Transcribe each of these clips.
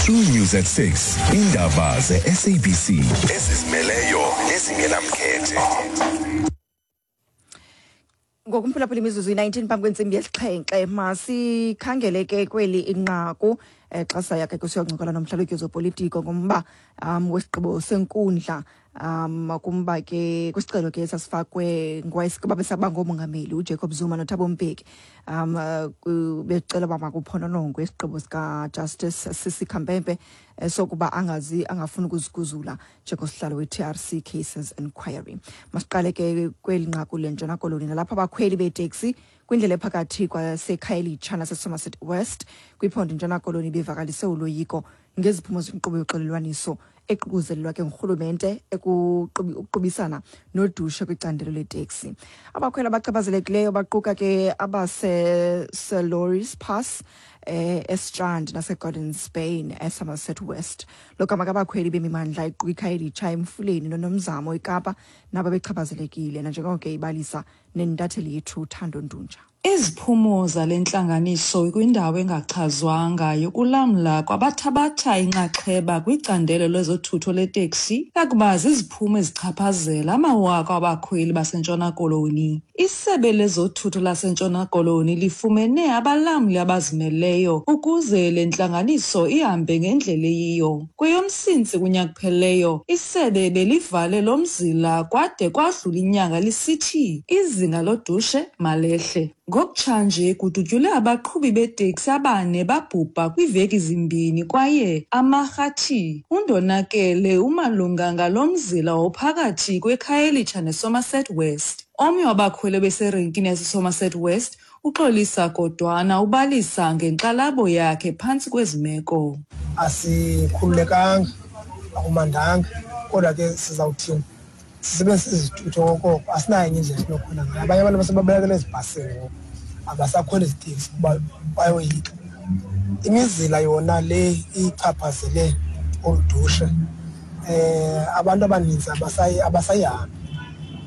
True News at 6. Indaba ze-SABC ezizimeleyo nezingenamkhethe. Ngokumphulaphula imizuzu i-19 phambi kwentsimbi yesixhenxe, masikhangele ke kweli inqaku xa saya ke kusiyoncokola nomhlalutyi wezopolitiko ngomba wesigqibo senkundla kumba ke kwisicelo ke sasifakwe ngowayesaba ngomongameli uJacob Zuma noThabo Mbeki becela uba makuphononongwe isigqibo sikaJustice Sisi Khampepe sokuba angazi angafuni ukuziguzula njengosihlalo we-TRC Cases Inquiry. Masiqale ke kweli nqaku leNtshona Koloni, nalapho abakhweli beeteksi kwindlela ephakathi kwaseKhayelitsha naseSomerset West kwiphondo iNtshona Koloni bevakalise uloyiko ngeziphumo zenkqubo yoxolelwaniso eququzelelwa ke ngurhulumente ekuqubisana nodushe kwicandelo leteksi. Abakhweli abachaphazelekileyo baquka ke abaseSelorys Pass eStrand naseGordons Bay eSomerset West. Logama ke abakhweli bemimandla iquka iKhayelitsha, eMfuleni noNomzamo eKapa nabo bechaphazelekile, nanjengoko ke ibalisa nentatheli yethu Thando Ntunja. Iziphumo zale ntlanganiso kwindawo engachazwanga yokulamla kwabathabatha inxaxheba kwicandelo lezothutho leteksi yakuba ziziphumo ezichaphazela amawaka abakhweli baseNtshona Koloni. Isebe lezothutho laseNtshona Koloni lifumene abalamli abazimeleyo ukuze le ntlanganiso ihambe ngendlela eyiyo. KweyoMsintsi kunyaka ophelileyo, isebe belivale lo mzila kwade kwadlula inyanga lisithi izinga lodushe malehle. Ngokutshanje kudutyulwe abaqhubi beeteksi abane babhubha kwiiveki zimbini kwaye amarhathi undonakele umalunga ngalo mzila ophakathi kweKhayelitsha neSomerset West. Omnye wabakhweli beserenkini yaseSomerset West, uXolisa Godwana, ubalisa ngenkxalabo yakhe phantsi kwezi meko. Asikhululekanga, akumandanga, kodwa ke sizawuthini? Sisebenzisa izithutho okoko, asinayo enye indlela esinokhwela ngayo. Abanye abantu basebabalekela ezibhasini ngoku, abasakhweli iziteksi kuba bayoyika. Imizila yona le ichaphazele olu dushe, abantu abaninzi abasayihambi,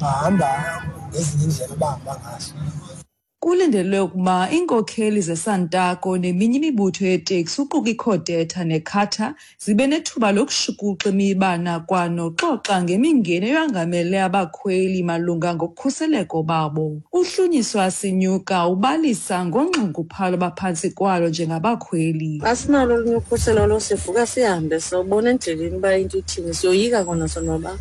bahamba ngezinye iindlela abahamba ngazo. Kulindelwe ukuba iinkokheli zeSantaco neminye imibutho yeeteksi uquka iCodeta neCATA zibe nethuba lokushukuxa imibana kwanoxoxa ngemingeni eyangamele abakhweli malunga ngokukhuseleko babo. Uhlunyiswa Sinyuka ubalisa ngonxunguphalo abaphantsi kwalo njengabakhweli. Asinalo olunye ukhuselo lo, sivuka sihambe sobona endleleni uba into ithini, siyoyika kona sonwaba.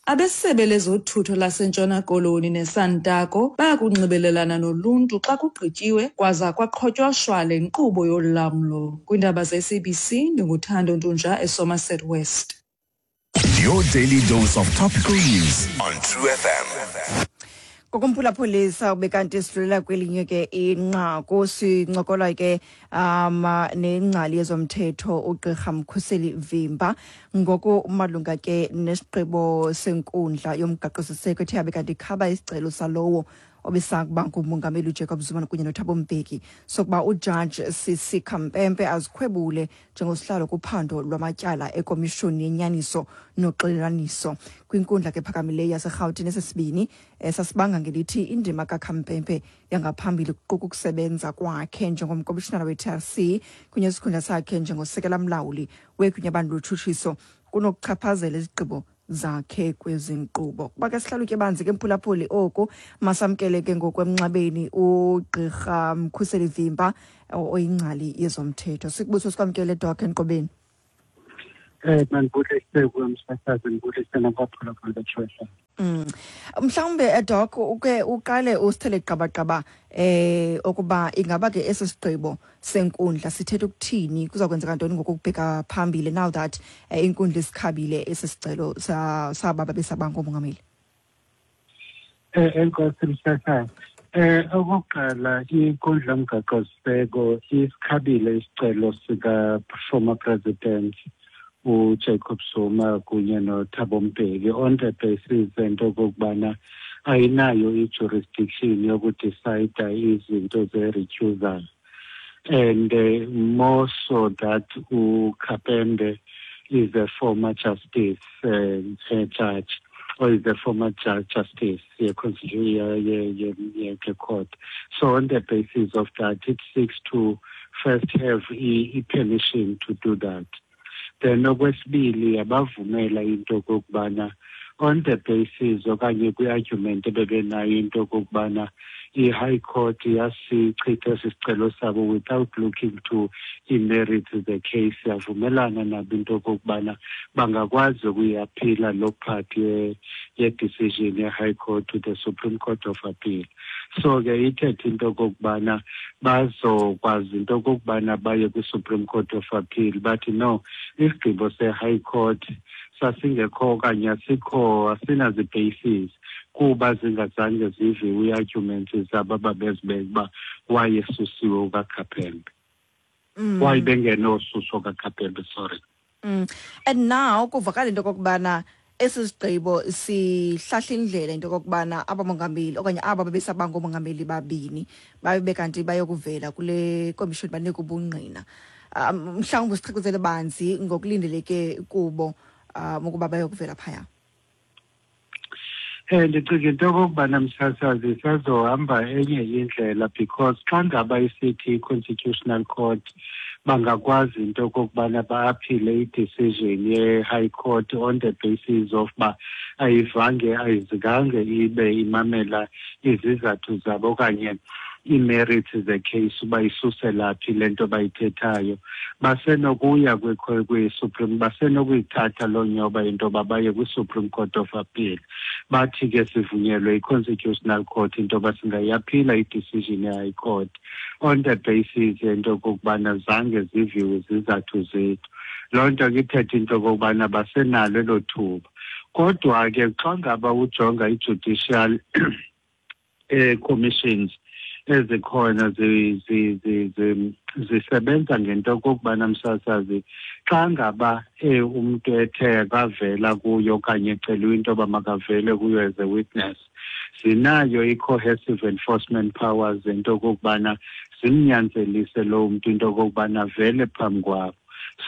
Abesebe lezothutho laseNtshona Koloni neSantaco bayakunxibelelana noluntu xa kugqityiwe kwaza kwaqhotyosha le nkqubo yolamlo. Kwiindaba ze-SABC, ndinguThando Ntunja eSomerset West. Your daily dose of topical news on True FM. Ngokumphulaphulisa ube kanti sidlulela kwelinye ke inqaku, sincokola ke nengcali yezomthetho uGqirha Mkhuseli Vimba ngoku malunga ke nesigqibo senkundla yomgaqo-siseko ethe yabe kanti ikhaba isicelo salowo obesakuba ngumongameli uJacob Zuma kunye noThabo Mbeki sokuba uJudge Sisi Khampepe azikhwebule njengosihlalo kuphando lwamatyala ekomishoni yenyaniso noxolelaniso kwinkundla ke phakamileyo yaseRhawutini. Esesibini sasibanga ngelithi indima kaKhampepe yangaphambili, kuquka ukusebenza kwakhe njengomkomishinala we-TRC kunye nesikhundla sakhe njengosekela mlawuli wegunyabantu lotshutshiso, kunokuchaphazela izigqibo zakhe kwezi nkqubo. Kuba ke sihlalutye banzi ke, mphulaphuli, oku masamkele ke ngokwemnxebeni ugqirha Mkhuseli Vimba oyingcali yezomthetho. Sikubuso sikwamkele, Doc, enkqubeni. Mandibulise kuwe msasazi, ndibulise nabaphulaphuli beTrue FM. Mhlawumbe Doc uke uqale usithele gqabagqaba okuba ingaba ke esi sigqibo senkundla sithetha ukuthini, kuza kwenzeka ntoni ngokubheka phambili now that inkundla isikhabile esi sicelo saba babesaba ngomongameli? Enkosi msasazi. Okokuqala, inkundla yomgaqo-siseko isikhabile isicelo sika former president uJacob Zuma kunye noThabo Mbeki on the basis ento okokubana ayinayo i-jurisdiction yokudicida izinto ze-recusal, and more so that uKhampepe is a former justice judge or is a former judge justice ye court. So on the basis of that, it seeks to first have i-permission to do that. Then okwesibili, yabavumela into okokubana on the basis okanye kwi-argument ebebenayo into okokubana i-High Court yasichitha esi sicelo sabo without looking to i-merits the case, yavumelana nabo into okokubana bangakwazi ukuyiaphila loo part ye-decision ye-High Court to the Supreme Court of Appeal. So ke ithethe into okokubana bazokwazi into okokubana baye kwi-Supreme Court of Appeal, bathi no, isigqibo se-High Court sasingekho okanye asikho, asinazi-basis, kuba zingazange ziviwe ii-arguments zabo ababezibeka uba wayesusiwe ukaKhaphembe, why bengenosuso kaKhaphembe, sorry. And now kuvakala into okokubana esi sigqibo sihlahla indlela into okokubana abamongameli okanye aba babesaba ngoomongameli babini babe kanti bayokuvela kule komishoni, banike ubungqina. Mhlawumbi sichazele banzi ngokulindeleke kubo ukuba bayokuvela phaya. Ndicinga into okokubana, msasazi, isazohamba enye indlela, because xa ngaba isithi i-Constitutional Court bangakwazi into okokubana ba-aphile i-decision ye-High Court on the basis of uba ayivange, ayizange ibe imamela izizathu zabo okanye ii-merits ze-case, uba isusela phi le nto bayithethayo, basenokuya kwi-Supreme, basenokuyithatha loo nyoba into yoba baye kwi-Supreme Court of Appeal, bathi ke sivunyelwe i-Constitutional Court into yoba singayiaphila i-decision ye-High Court on the basis yento okokubana zange ziviwe izizathu zethu. Loo nto ke ithetha into okokubana basenalo elo thuba. Kodwa ke xa ngaba ujonga i-judicial commissions ezikhona, zisebenza ngento okokubana, msasazi, xa ngaba umntu ethe akavela kuyo okanye eceliwe into yoba makavele kuyo as a witness, zinayo i-coercive enforcement powers into okokubana zimnyanzelise loo mntu into okokubana avele phambi kwabo.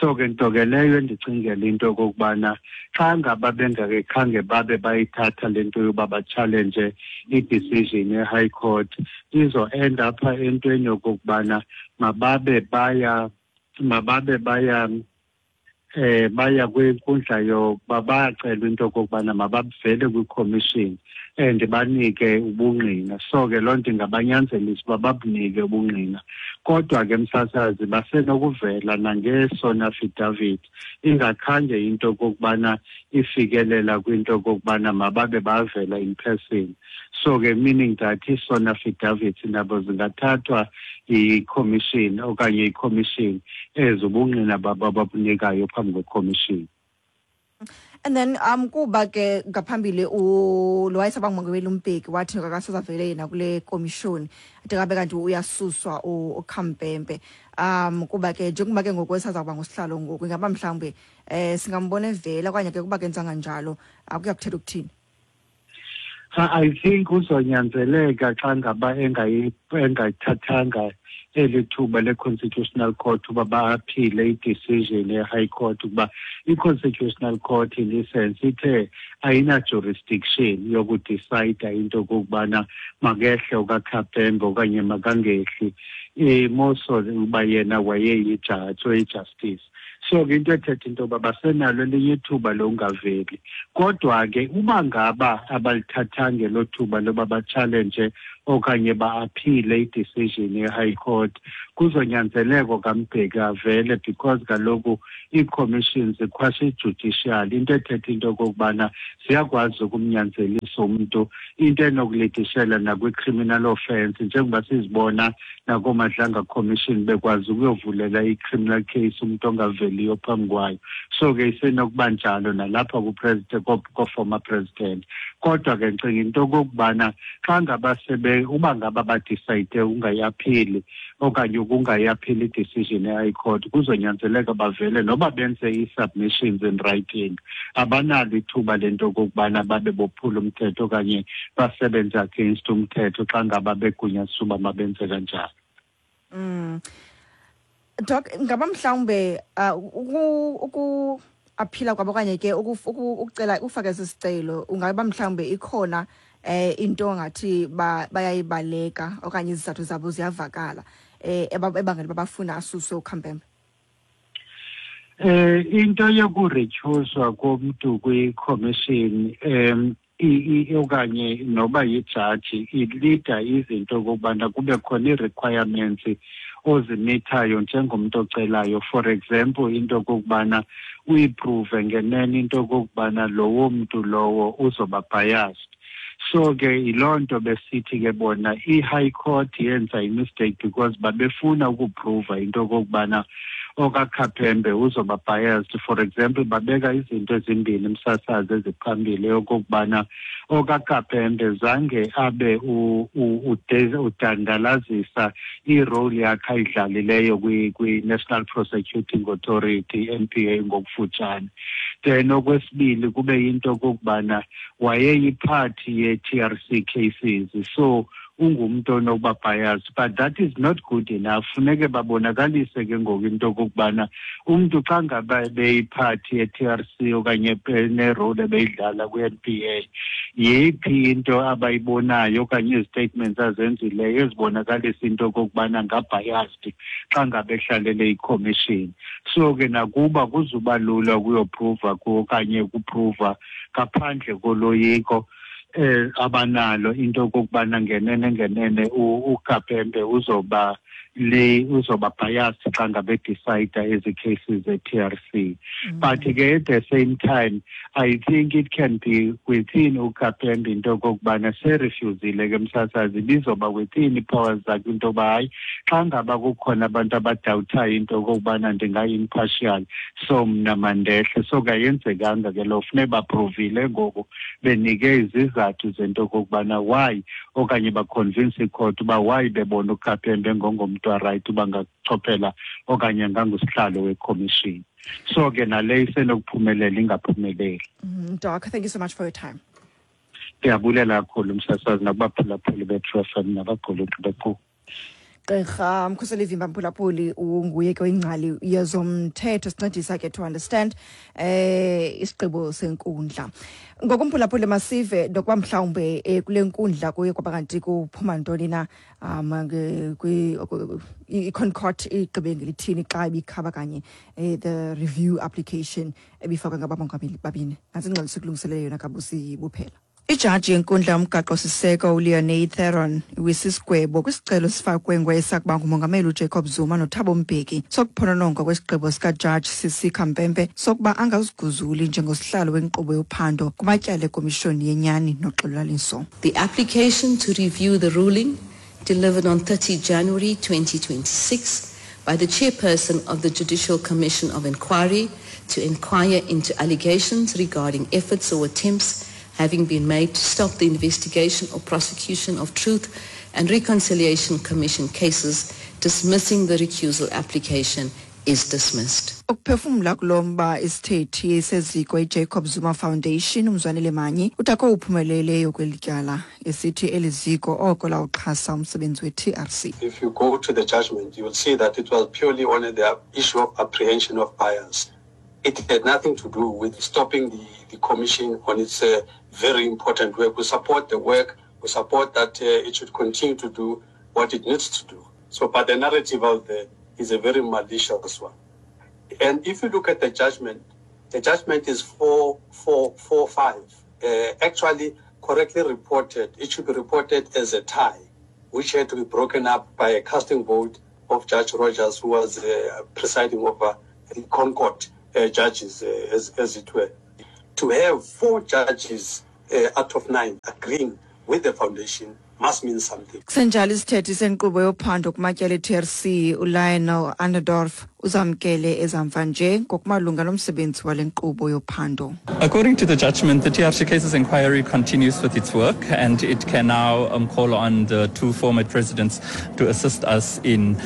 So ke nto ke leyo endicingela into okokubana xa ngaba bengakekhange babe bayithatha le nto yoba ba-challenge i-decision ye-High Court, izo-end apha entweni yokokubana mababe baya kwinkundla yokuba bayacelwa into okokubana mabavele kwi-commission and banike ubungqina. So ke loo nto ingabanyanzelisa uba babunike ubungqina. Kodwa ke, msasazi, basenokuvela nange-sworn affidavit, ingakhange into okokubana ifikelela kwinto okokubana mababe bavela in person. So ke meaning that ii-sworn affidavits nabo zingathathwa yi-commission okanye i-commission ezobungqina babo ababunikayo phambi kwe-commission. And then kuba ke ngaphambili lo wayesaba ngumongameli uMbeki wathi akasazavele yena kule komishoni ade kabe kanti uyasuswa uKhampempe, kuba ke njengoba ke ngoku esaza kuba ngusihlalo ngoku, ingaba mhlawumbe singambona evela okanye ke kuba kenzanga njalo akuya kuthetha ukuthini? I think uzonyanzeleka xa ngaba engayithathanga eli thuba le-Constitutional Court uba ba-aphile i-decision ye-High Court, ukuba i-Constitutional Court in essence ithe ayina-jurisdiction yoku-decida into okokubana makehle okaKhaphembe okanye makangehli, more so uba yena wayeyijaji, oyi-justice. So ke into ethetha into yoba basenalo elinye ithuba lokungaveli. Kodwa ke uba ngaba abalithathanga elo thuba loba ba-challenge okanye ba-aphile i-decision ye-High Court, kuzonyanzeleka kaMbeki avele, because kaloku ii-commissions ziquasi-judicial, into ethetha into okokubana ziyakwazi ukumnyanzelisa umntu, into enokulidishela nakwi-criminal offence, njengoba sizibona nakooMadlanga Commission bekwazi ukuyovulela i-criminal case umntu ongaveliyo phambi kwayo. So ke isenokuba njalo nalapha ku-president, ko-former president. Kodwa ke ndicinga into okokubana xa ngaba sebe uba ngaba ba-decide ungayaphili okanye ukungayaphili i-decision ye-High Court, kuzonyanzeleka bavele noba benze ii-submissions in writing. Abanalo ithuba lento okokubana babe bophula umthetho okanye basebenze against umthetho xa ngaba begunyaziswa uba mabenze kanjalo. Doc, ngaba mhlawumbe uku aphila kwabo okanye ke ukucela ufake esi sicelo, ungaba mhlawumbe ikhona into ngathi bayayibaleka okanye izizathu zabo ziyavakala? ebangela uba bafuna asuswe uKhampembe? Into yokuretyhuzwa komntu kwi-commission okanye noba yijaji ilida izinto okokubana kube khona ii-requirements ozimithayo njengomntu ocelayo. For example, into okokubana uyiprove ngenene into okokubana lowo mntu lowo uzoba biased. So ke yiloo nto besithi ke bona i-high court yenza i-mistake, because babefuna ukuprova into okokubana okaKhaphembe uzoba biased. For example, babeka izinto ezimbini, msasazi, eziphambili, okokubana okaKhaphembe zange abe udandalazisa irole yakhe ayidlalileyo kwi-National Prosecuting Authority, NPA ngokufutshane. Then okwesibili kube yinto okokubana wayeyiphathi ye-TRC cases, so ungumntu onokuba biased, but that is not good enough. Funeke babonakalise ke ngoku into okokubana umntu xa ngaba beyiphathi ye-TRC okanye nerole ebeyidlala kwi-NPA, yeyiphi into abayibonayo okanye izi-statements azenzileyo ezibonakalisa into okokubana ngabiased xa ngabe ehlalele ikhomishini. So ke nakuba kuzuba lula ukuyoprova okanye ukuprova ngaphandle koloyiko abanalo into okokubana ngenene ngenene uKapembe uzoba le uzoba biased xa ngabe decide ezi cases ze-TRC. But ke at the same time, I think it can be within uKapembe into okokubana serefusile ke, msasazi, ibizoba within ii-powers zakhe into yoba hayi, xa ngaba kukhona abantu abadawuthayo into okokubana ndingayi-impartial, so mna mandehle. So kayenzekanga ke loo. Funeka baprovile ngoku, benike izizathu zento okokubana why, okanye baconvince icourt uba why bebona uKapembe ngongomntu arayithi uba ngachophela okanye ngangusihlalo wekhomishini. So ke nale isenokuphumelela, ingaphumeleli. Doc, thank you so much for your time. Ndiyabulela kakhulu, msasazi, nakubaphulaphuli be-True FM nabagquluqi bequ. Gqirha Mkhuseli Vimba, mphulaphuli, unguye ke ingcali yezomthetho, sincedisa ke to understand isigqibo senkundla. Ngokumphulaphuli, masive nokuba mhlawumbe kule nkundla kuye kwaba kanti kuphuma ntoni na, i-ConCourt igqibe ngelithini xa ibikhaba kanye the review application ebifakwe ngabamongameli babini. Nantsi ingxelo sikulungiselele yona kabusi buphela. Ijaji yenkundla yomgaqo-siseko uLeonie Theron iwisa isigwebo kwisicelo esifakwe ngowayesakuba ngumongameli uJacob Zuma noThabo Mbeki sokuphononongwa kwesigqibo sikajaji Sisi Khampepe sokuba angaziguzuli njengosihlalo wenkqubo yophando kumatyala ekomishoni yenyani noxolelwaniso. The application to review the ruling delivered on 30 January 2026 by the chairperson of the Judicial Commission of Inquiry to inquire into allegations regarding efforts or attempts having been made to stop the investigation or prosecution of Truth and Reconciliation Commission cases, dismissing the recusal application, is dismissed. Ukuphefumla kulo mba, isithethi seziko iJacob Zuma Foundation, uMzwanele Manyi, uthi uphumeleleyo kweli tyala, esithi eli ziko oko lawuxhasa umsebenzi we-TRC. If you go to the judgment, you will see that it was purely on the issue of apprehension of bias. It had nothing to do with stopping the commission on its very important work. We support the work. We support that it should continue to do what it needs to do. So, but the narrative out there is a very malicious one. And if you look at the judgment is 4-4-4-5. Actually, correctly reported, it should be reported as a tie, which had to be broken up by a casting vote of Judge Rogers, who was presiding over the ConCourt judges, as it were. To have four judges out of nine agreeing with the foundation must mean something. Kusenjalo, isithethi senkqubo yophando kumatyala e-TRC, uLionel Adendorff, uzamkele ezamva nje ngokumalunga nomsebenzi wale nkqubo yophando. According to the judgment, the TRC cases inquiry continues with its work, and it can now call on the two former presidents to assist us in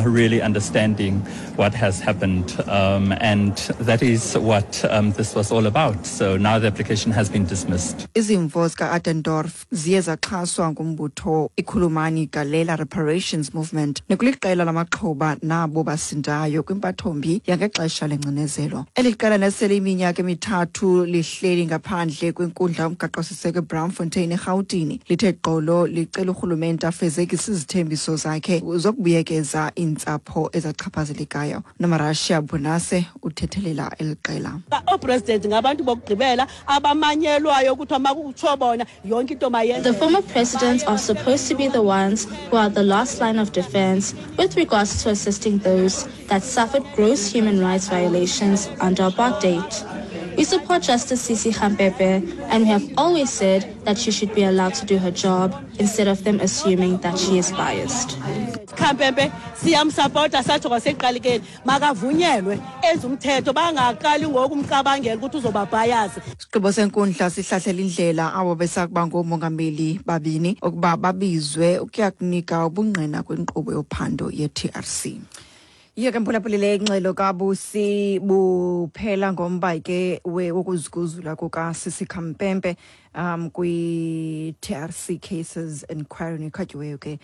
really understanding what has happened. And that is what this was all about. So now the application has been dismissed. Izimvo zika-Adendorff ziye zaxhaswa ngumbutho iKhulumani Galela Reparations Movement nekuliqela lamaxhoba nabo basindayo. layo kwimpathombi yangexesha lengcinezelo. Eli qela nesele iminyaka emithathu lihleli ngaphandle kwenkundla yomgaqo-siseko eBraamfontein eRhawutini lithe gqolo licela urhulumente afezekise izithembiso zakhe zokubuyekeza iintsapho ezachaphazelekayo. Nomarashiya Bonase uthethelela eli qela. Oopresident ngabantu bokugqibela abamanyelwayo kuthiwa makutsho bona yonke into mayenze. The former presidents are supposed to be the ones who are the last line of defense with regards to assisting those that suffered gross human rights violations under apartheid. We support Justice Sisi Khampepe and we have always said that she should be allowed to do her job instead of them assuming that she is biased. Khampepe siyamsapota satsho kwasekuqalikeni makavunyelwe enze umthetho bangaqali ngoku umcabangela ukuthi uzoba bias. Isigqibo senkundla sihlahlela indlela abo besakuba ngoomongameli babini ukuba babizwe ukuya kunika ubungqina kwinkqubo yophando ye-TRC. Yiyo ke mphulaphuli le ingxelo kaBusi buphela ngomba ke wokuziguzula kukaSisi Khampempe kwi-TRC cases inquiry nekhatyiweyo ke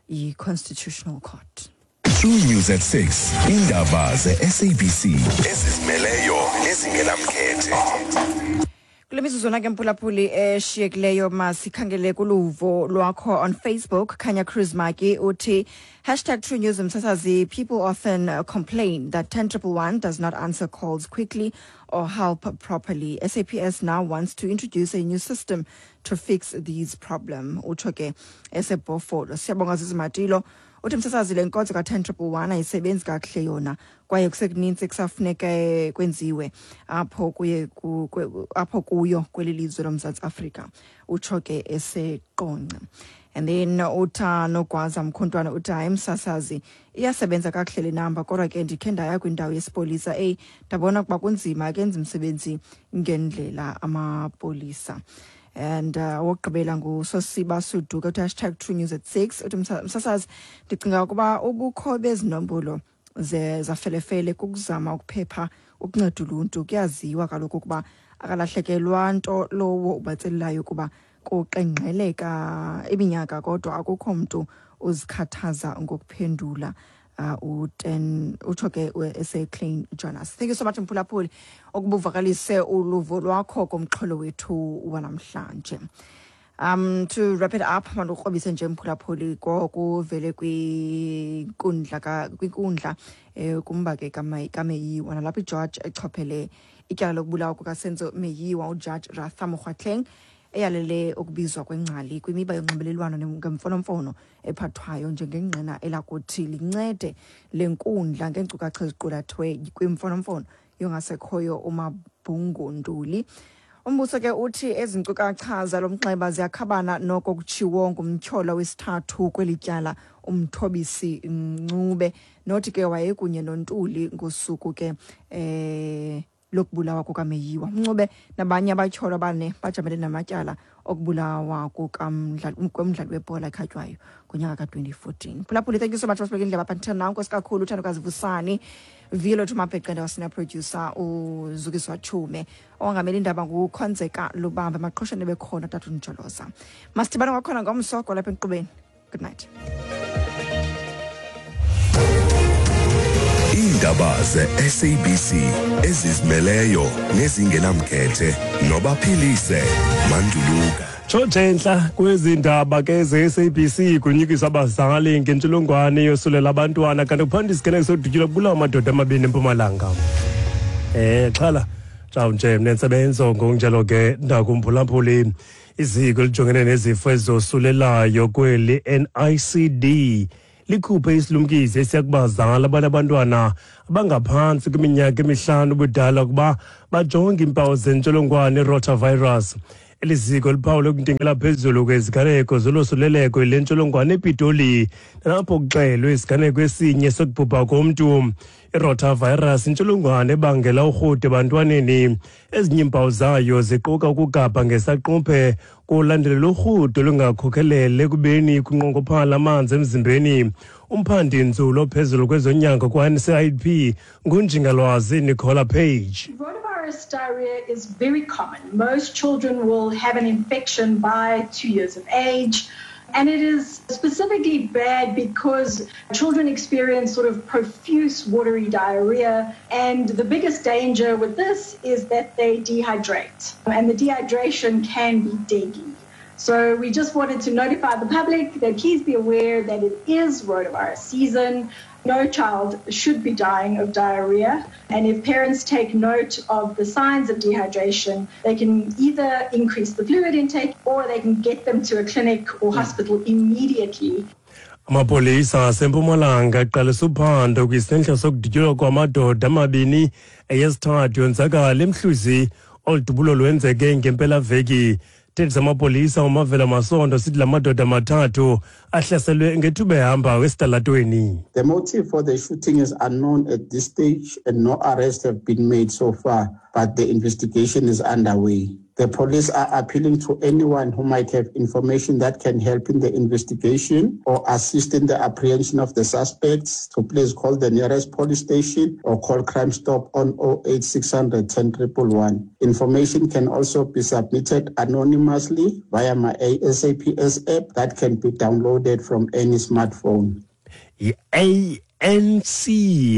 yi-Constitutional Court. True News at 6. Indaba ze-SABC ezizimeleyo nezingenamkhethe. Kule mizuzwana ke mphulaphuli eshiyekileyo masikhangele kuluvo lwakho on Facebook. Khanya Cruz Maki uthi hashtag True News Msasazi, people often complain that 10111 does not answer calls quickly or help properly. SAPS now wants to introduce a new system to fix these problem. Utsho ke esebhofolo. Siyabonga Zizimatilo uthi msasazi le nkonzo ka-10111 ayisebenzi kakuhle yona kwaye kusekuninzi kusafuneka kwenziwe apho kuye apho kuyo kweli lizwe loMzantsi Afrika, utsho ke eseqonce. And then utha Nogwaza Mkhontwana uthi hayi msasazi iyasebenza kakuhle le namba, kodwa ke ndikhe ndaya kwindawo yesipolisa eyi ndabona ukuba kunzima akenzi umsebenzi ngendlela amapolisa. And wokugqibela nguSosiba Suduka uthi hashtag True News at 6 uthi msasazi ndicinga ukuba ubukho bezinombolo zafelefele kukuzama ukuphepha ukunceda uluntu. Kuyaziwa kaloku ukuba akalahlekelwa nto lowo ubatselelayo ukuba kuqengqeleka iminyaka, kodwa akukho mntu uzikhathaza ngokuphendula. U-10 utsho ke ese-Klein Jonas. Thank you so much mphulaphuli ukuba uvakalise uluvo lwakho komxholo wethu wanamhlanje. To wrap it up, mandikrobise nje mphulaphuli kokuvele kwinkundla kwinkundla kumba ke kaMeyiwa nalapho ijaji echophele ityala lokubulawa kukaSenzo Meyiwa ujaji Ratha Mokgoatlheng eyalele ukubizwa kwengcali kwimiba yonxibelelwano ngemfonomfono ephathwayo njengengqina elakuthi lincede le nkundla ngeenkcukacha eziqulathwe kwimfonomfono yongasekhoyo uMabhungu Ntuli. Umbuso ke uthi ezi nkcukacha zalo mnxeba ziyakhabana noko kutshiwo ngumtyholwa wesithathu kweli tyala uMthobisi Ncube, nothi ke wayekunye noNtuli ngosuku ke lokubulawa kukaMeyiwa. Mncube nabanye abatyholwa bane bajamele namatyala okubulawa komdlali webhola ekhatywayo ngonyaka ka-2014. Phulaphuli, thank you so much masibeke indlela apha ndithanda nawe. Nkosi kakhulu uthandokazi Vusani Vilo Thumabheqende wasina producer uZukiswa Chume, ongamela indaba nguKhonzeka Lubambe, maqhoshane bekhona tata Njoloza. Masidibane kwakhona ngomso kwalapha enkqubeni. Good night. Iindaba ze-SABC ezizimeleyo nezingenamkhethe nobaphilise Manduluka. Tshotshe kwezi ndaba ke ze-SABC kunyukiswa abazali ngentsholongwane yosulela abantwana, kanti kuphanda isiganeko sodutyulwa kubulawa amadoda amabini eMpumalanga. Xhala nje nentsebenzo ngokunjalo ke ndakumphulaphuli. Iziko elijongene nezifo ezosulelayo kweli NICD likhuphe isilumkiso esiya kubazali abanabantwana abangaphantsi kwiminyaka emihlanu ubudala ukuba bajonge iimpawu zentsholongwane i-rotavirus. Eli ziko liphawule ukuntingela phezulu kweziganeko zolosuleleko le ntsholongwane ePitoli, nalapho kuxelwe isiganeko esinye sokubhubha komntu. I-rotavirus intsholongwane ebangela urhudo ebantwaneni. Ezinye iimpawu zayo ziquka ukugabha ngesaquphe kulandelela urhudo olungakhokhelele ekubeni kunqongophala amanzi emzimbeni. Umphandi nzulu ophezulu kwezonyango kwa-NCIP nguNjingalwazi Nicola Page. Rotavirus diarrhea is very common. Most children will have an infection by 2 years of age. And it is specifically bad because children experience sort of profuse watery diarrhea. And the biggest danger with this is that they dehydrate. And the dehydration can be deadly. So we just wanted to notify the public that please be aware that it is rotavirus season. No child should be dying of diarrhea. And if parents take note of the signs of dehydration, they can either increase the fluid intake or they can get them to a clinic or hospital immediately. Amapolisa aseMpumalanga aqalisa uphando kwisehlo sokudutyulwa kwamadoda amabini eyesithathu yonzakala eMhluzi. Olu dubulo lwenzeke ngempelaveki. Isithethi samapolisa uMavela Masondo sithi la madoda mathathu ahlaselwe ngethuba ehamba esitalatweni. The motive for the shooting is unknown at this stage and no arrests have been made so far, but the investigation is underway. The police are appealing to anyone who might have information that can help in the investigation or assist in the apprehension of the suspects to please call the nearest police station or call Crime Stop on 08600 10 111. Information can also be submitted anonymously via my SAPS app that can be downloaded from any smartphone. Yi-ANC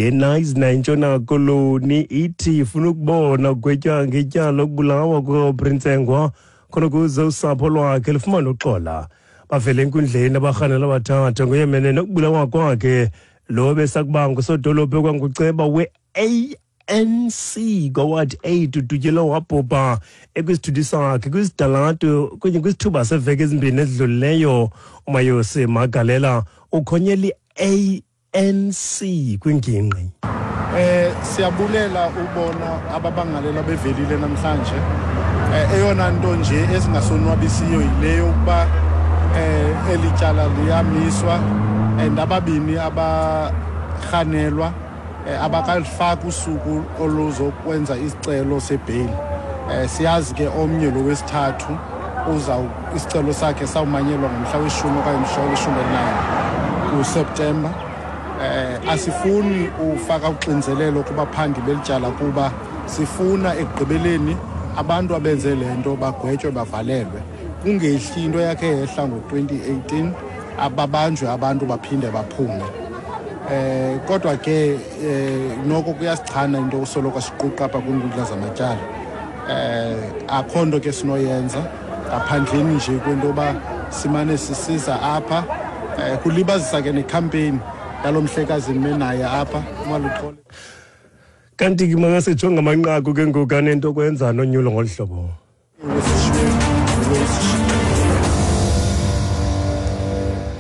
eNayizna iNtshona Koloni ithi ifuna ukubona ugwetywa ngetyala lokubulawa kukaAubrey Ntsengwa khona ukuze usapho lwakhe lufumane uxola. Bavele enkundleni abarhanelwa abathathu ngoyemene nokubulawa kwakhe lo besakuba ngusodolophu ekwanguceba we-ANC kwaward 8 udutyelwe wabhubha ekwisithuthi sakhe kwisitalato kunye kwisithuba seveki ezimbini ezidlulileyo. UMayosi Magalela ukhonyela i-ANC kwingingqi. Siyabulela ubona ababangalela bevelile namhlanje. Eyona nto nje esingasonwabisiyo yile yokuba eli tyala liyamiswa and ababini abarhanelwa abakalifaki usuku oluzokwenza isicelo sebheyili. Siyazi ke omnye lo wesithathu uza isicelo sakhe sawumanyelwa ngomhla weshumi okanye mhla weshumi elinanye kuSeptemba. Asifuni ufaka uxinzelelo kubaphandi beli tyala kuba sifuna ekugqibeleni abantu abenze le nto bagwetywe bavalelwe, kungehli into yakhe yehla ngo-2018 ababanjwe abantu baphinde baphume. Kodwa ke noko kuyasichana into usoloko siquqa apha kwiinkundla zamatyala. Akho nto ke sinoyenza ngaphandleni nje kwento yoba simane sisiza apha. Kulibazisa ke nekhampeyini yalo mhlekazi ndime naye apha uMaluxolo. Kanti ke makasijonge amanqaku ke ngoku anento kwenza nonyulo ngolu hlobo.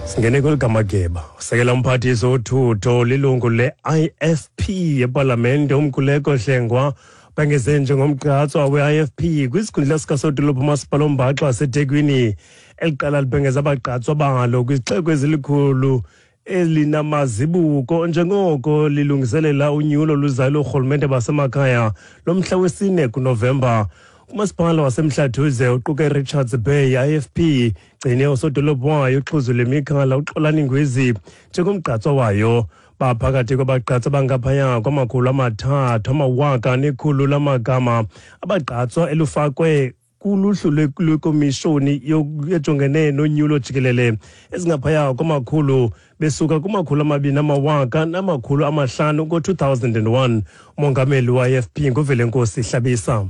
Singene kweli gamageba. Usekela umphathiswa wothutho lilungu le-IFP epalamente uMkhuleko Hlengwa bengeze njengomgqatswa we-IFP kwisikhundla sikasodolophu umasipala ombaxa waseThekwini. Eli qela libhengeza abagqatswa balo kwizixeko ezilikhulu elinamazibuko njengoko lilungiselela unyulo luzayo loorhulumente basemakhaya lomhla wesine kuNovemba. Umasipala waseMhlathuze uquka iRichards Bay IFP gcine usodolophu wayo uXhuzule Mikhala uXolani Ngwezi njengomgqatswa wayo. Baphakathi kwabagqatswa abangaphaya kwama-300 amawaka nekhulu lamagama abagqatswa elufakwe kuluhlu lwekomishoni ejongene nonyulo jikelele ezingaphaya kwamakhulu besuka kuma-200 amawaka namakhulu amahlanu ngo-2001. Umongameli we-IFP nguVelenkosi Hlabisa.